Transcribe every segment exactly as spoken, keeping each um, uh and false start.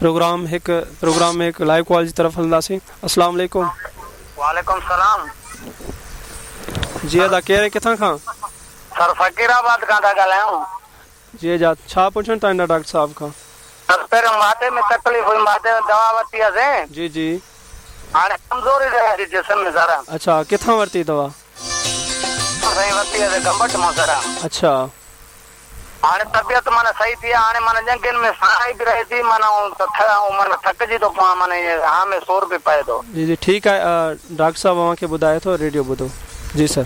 Programme हिकु programme में हिकु लाइव कॉल जी तरफ़ हलंदासीं। अस्सलाम वालेकुम। वालेकुम सलाम। जी अदा केरु किथां खां? सर फ़कीराबाद खां था ॻाल्हायूं। जी अदा छा पुछणु चाहींदा डॉक्टर साहब खां? सर पहिरियों माथे में तकलीफ़ हुई, माथे में दवा वरिती हुईसीं। जी जी। हाणे कमज़ोरी रहे थी जिस्म में सर। अच्छा किथां वरिती दवा? साईं वरिती हुईसीं गंबट मां सर। अच्छा हाणे तबियत माना सही थी, हाणे माना ॼंघियुनि में सराई बि रहे थी, माना माना थकिजी थो पवां, माना ईअं हा में सोर बि पए थो। जी जी ठीकु आहे, डॉक्टर साहब अव्हांखे ॿुधाए थो, रेडियो ॿुधो। जी सर।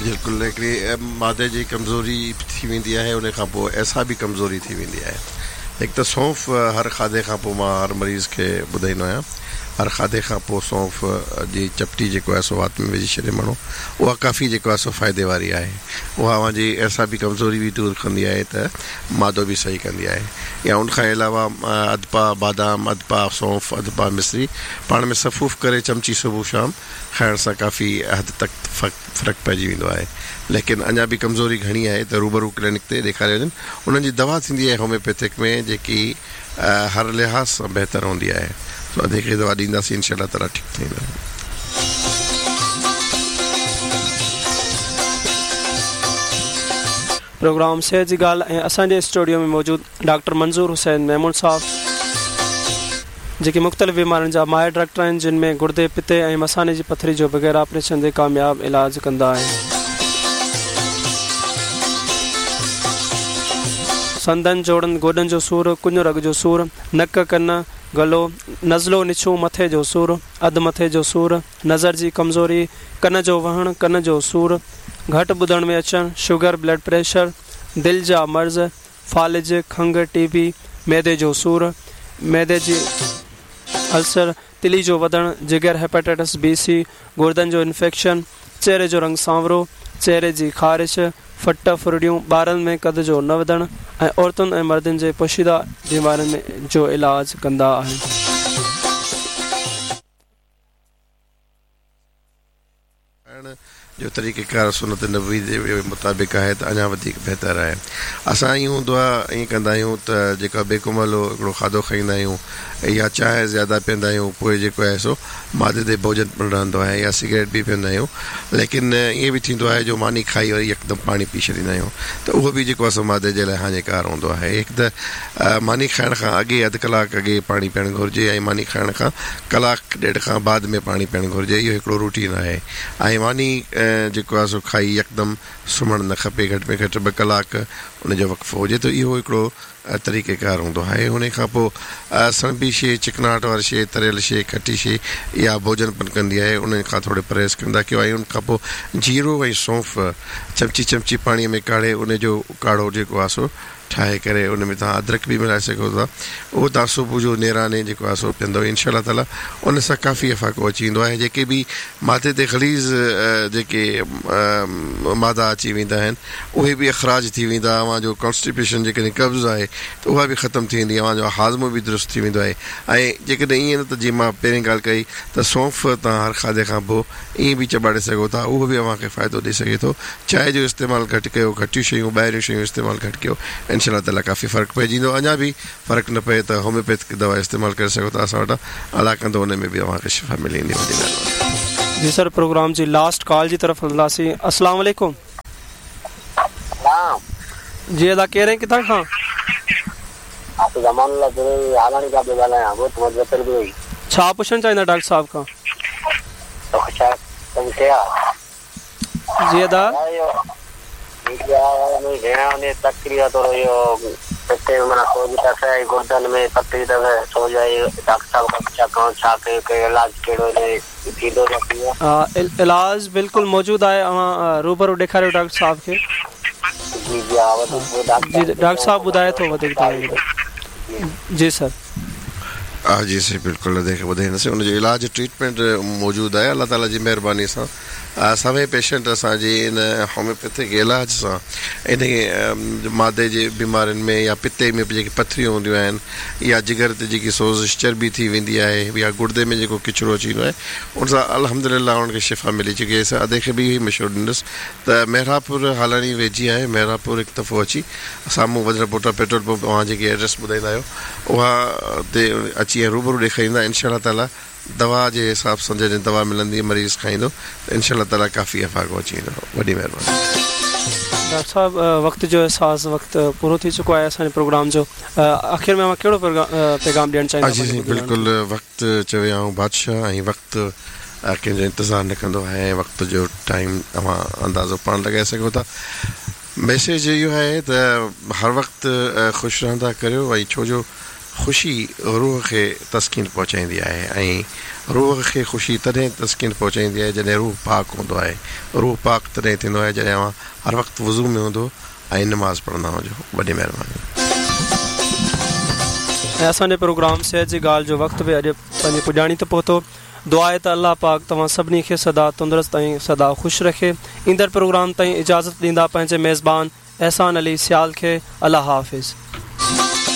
बिल्कुलु हिकिड़ी मादे जी कमज़ोरी थी वेंदी आहे, उन खां पोइ ऐसा बि कमज़ोरी थी वेंदी आहे। हिकु त सौंफ़ हर खाधे खां पोइ मां हर मरीज़ खे ॿुधाईंदो आहियां, हर खाधे खां पोइ सौंफ़ जी चपटी जेको आहे सो वात में विझी छॾे माण्हू, उहा काफ़ी जेको आहे सो फ़ाइदे वारी आहे। उहा अव्हांजी ऐसा बि कमज़ोरी बि दूर कंदी आहे त मादो बि सही कंदी आहे। या उन खां अलावा अधु पाउ बादाम, अधु पाउ सौंफ़, अधु पाउ मिश्री पाण में सफ़ूफ़ करे चमची सुबुह शाम खाइण सां काफ़ी हद तक फ़र्क़ु पइजी वेंदो आहे। लेकिन अञा बि कमज़ोरी घणी आहे त रूबरू क्लिनिक ते ॾेखारे वञनि, उन्हनि जी दवा थींदी आहे होम्योपैथिक में जेकी हर लिहाज़ सां बहितर हूंदी आहे। तो अधु दवा ॾींदासीं इंशा अल्लाह ताला ठीकु थी वेंदो। प्रोग्राम सेहत जी ॻाल्हि ऐं असांजे स्टूडियो में मौजूदु डॉक्टर मंज़ूर हुसैन मेमून साहब जेके मुख़्तलिफ़ बीमारियुनि जा माहिर डॉक्टर आहिनि, जिन में गुर्दे, पित्ते ऐं मसाने जी पथरी जो बग़ैर ऑपरेशन जे कामयाब इलाज कंदा आहिनि। संदन, जोड़नि, गोॾनि जो सूर, कुञ रग जो सूर, नक, कन, गलो, नज़लो, निछू, मथे जो सूर, अधु मथे जो सूर, नज़र जी कमज़ोरी, कन जो वहणु, कन जो सूर, घटि ॿुधण में अचणु, शुगर, ब्लड प्रेशर, दिलि जा मर्ज़, फ़ालिज, खंघ, टीबी, मैदे जो सूर, मैदे जी अल्सर, तिली जो वधणु, जिगर, हेपेटाइटिस बी सी, गुर्दनि जो इन्फेक्शन, चेहरे जो रंग सांवरो, चेहरे जी ख़ारिश, फट फुरड़ियूं, ॿारनि में कद जो न वधणु ऐं औरतुनि ऐं मर्दनि जे पोशीदा बीमारियुनि में जो इलाज कंदा आहिनि। जो तरीक़ेकार सुनत नबी जे मुताबिक़ आहे त अञा वधीक बहितर आहे। असां ईअं हूंदो आहे, ईअं कंदा आहियूं त जेका बेकुमलो हिकिड़ो खाधो खाईंदा आहियूं या चांहि ज़्यादा पीअंदा आहियूं, पोइ जेको आहे सो मादे ते भोजन पिणु रहंदो आहे या सिगरेट बि पीअंदा आहियूं। लेकिन ईअं बि थींदो आहे जो मानी खाई वरी यकदमि पाणी पी छॾींदा आहियूं त उहो बि जेको आहे सो मादे जे लाइ हानिकार हूंदो आहे। हिकु त मानी खाइण खां अॻे अधु कलाकु अॻे पाणी पीअणु घुरिजे ऐं मानी खाइण खां कलाकु ॾेढ खां बाद में पाणी पीअणु घुरिजे, इहो हिकिड़ो रूटीन आहे। ऐं मानी जेको आहे सो खाई यकदमि सुम्हणु न खपे, घटि में घटि ॿ कलाक उनजो वक़्फ़ो हुजे, त इहो हिकिड़ो तरीक़ेकार हूंदो आहे। हुन खां पोइ सणबी शइ, चिकनाहट वारी शइ, तरियल शइ, खटी शइ या भोजन पिणु कंदी आहे, उन खां थोरो परहेज़ कंदा कयो। ऐं उन खां पोइ जीरो ऐं सौंफ़ चमची चमची पाणीअ में काढ़े उनजो काढ़ो जेको आहे सो ठाहे करे उन में तव्हां अदरक बि मिलाए सघो था, उहो तव्हां सुबुह जो नेराने जेको आहे सो पीअंदव, इनशा अल्लाह ताला उन सां काफ़ी अफ़ाक़ो अची वेंदो आहे। जेके बि माथे ते ग़लीज़ जेके मादा अची वेंदा आहिनि उहे बि अख़राज थी वेंदा, अव्हांजो कॉन्स्टिपेशन जेकॾहिं कब्ज़ आहे त उहा बि ख़तमु थी वेंदी, अव्हांजो हाज़मो बि दुरुस्त थी वेंदो आहे। ऐं जेकॾहिं ईअं न त जीअं मां पहिरीं ॻाल्हि कई त सौंफ़ तव्हां हर खाधे खां पोइ ईअं बि चबाड़े सघो था, उहो बि अव्हांखे फ़ाइदो ॾेई सघे थो। चांहि जो इस्तेमालु घटि कयो, घटियूं शयूं, ॿाहिरियूं शयूं इस्तेमालु घटि कयो, इंशा अल्लाह ताला काफ़ी फ़र्क़ु पइजी वेंदो। अञा बि फ़र्क़ु न पए त होम्योपैथिक दवा इस्तेमालु करे सघो था असां वटां, अलाह कंदो उन में बि अव्हांखे शिफ़ा मिली वेंदी। वॾी महिरबानी। जी सर, प्रोग्राम जी लास्ट कॉल जी तरफ़ हलंदासीं। अस्सलाम वालेकुम। जी अदा केरु ऐं किथां खां? छा पुछणु चाहींदा डॉक्टर साहब खां? जी अदा इलाज बिल्कुलु मौजूदु आहे, अव्हां रूबरू ॾेखारियो डॉक्टर साहब खे। जी डॉक्टर साहब ॿुधाए थो वधीक तव्हांखे। जी सर। ها جي سائين بلڪل ادي کي ٻڌائينداسين ان جو علاج ٽريٽمينٽ موجود آهي الله تعاليٰ جي مهرباني سان سوين پيشنٽ اسان جي ان هوميوپيٿڪ علاج سان ان معدي جي بيمارين ۾ يا پتي ۾ به جيڪي پٿريون هونديون آهن يا جگر تي جيڪي سوزش چربي ٿي ويندي آهي يا گردي ۾ جيڪو ڪچرو اچي ويندو آهي ان سان الحمد لله انهن کي شفا ملي چڪي آهي ادي کي به اهو ئي مشورو ڏيندس ته محرابپور هالاڻي ويجهي آهي محرابپور هڪ دفعو اچي سامهون وڌل پوٽا پيٽرول پمپ اوهان جيڪي ايڊريس ٻڌائيندا آهيو اها تي اچي ۽ روبرو ڏيکاريندا انشاء الله تعاليٰ دوا جي حساب سان جڏهن دوا ملندي مريض کائيندو ته انشاء الله تعاليٰ ڪافي افاقو اچي ويندو وڏي مهرباني. ڊاڪٽر صاحب وقت جو احساس وقت پورو ٿي چڪو آهي اسان جي پروگرام جو آخر ۾ اوهان ڪهڙو پيغام ڏيڻ چاهيندا جي سائين بلڪل وقت چوي آئون بادشاهه ۽ وقت ڪنهن جو انتظار نه ڪندو آهي ۽ وقت جو ٽائيم اوهان اندازو پاڻ لڳائي سگهو ٿا ميسيج اهو آهي ته هر وقت خوش رهندا ڪريو ۽ ڇو جو خوشي روح کي تسڪين پهچائيندي آهي ۽ روح کي خوشي تڏهن تسڪين پهچائيندي آهي جڏهن روح پاڪ هوندو آهي روح پاڪ تڏهن ٿيندو آهي جڏهن اوهان هر وقت وضو ۾ هوندو ۽ نماز پڙهندا هجو وڏي مهرباني. ۽ اسان جي پروگرام صحت جي ڳالهه جو وقت به اڄ پنهنجي پڄاڻي تي پهتو. دعا آهي ته الله پاڪ توهان سڀني کي سدا تندرست ۽ سدا خوش رکي. ايندڙ پروگرام تائين اجازت ڏيندا پنهنجي ميزبان احسان علي سيال کي الله حافظ.